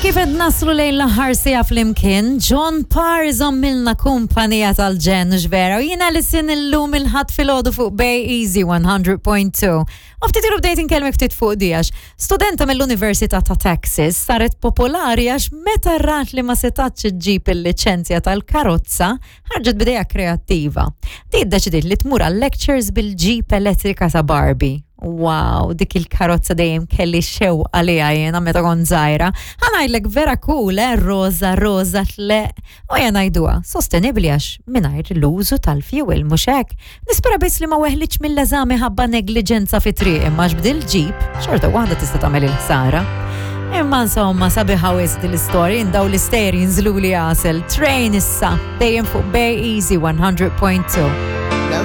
Hekk kif qed naslu lejn l-aħħar siegħa flimkien, John Parr iżommilna kumpanija tal-ġenn hux vera u jiena li sin illum il-Ħadd filgħodu fuq Bay Easy 100.2. U ftit ilu bdejt inkellmek ftit fuq di għax studenta mill-Università ta' Texas saret popolari għax meta rat li ma setatx iġġib il-liċenzja tal-karozza, ħarġet b'idea kreattiva. Di ddeċidiet li tmur għal lectures bil-Jeep elettrika ta' Barbie. Wow, dik il-karozza dejjem kelli xewqa għaliha jiena meta kont żgħira. Ħa ngħidlek vera cool, eh, roża, roża tleq. U ejja ngħiduha, sostenibbli għax mingħajr l-użu tal-fuel, mhux hekk? Nispera biss li ma weħlitx mill-eżami ħabba negliġenza fit-triq imma għax b'dil-ġip xorta waħda tista' tagħmel il-ħsara. Imma insomma, sabiħa wisq din l-istorja, jien daw l-istejjer jinżluli għasel. Train issa, dejjem fuq Bay Easy 100.2.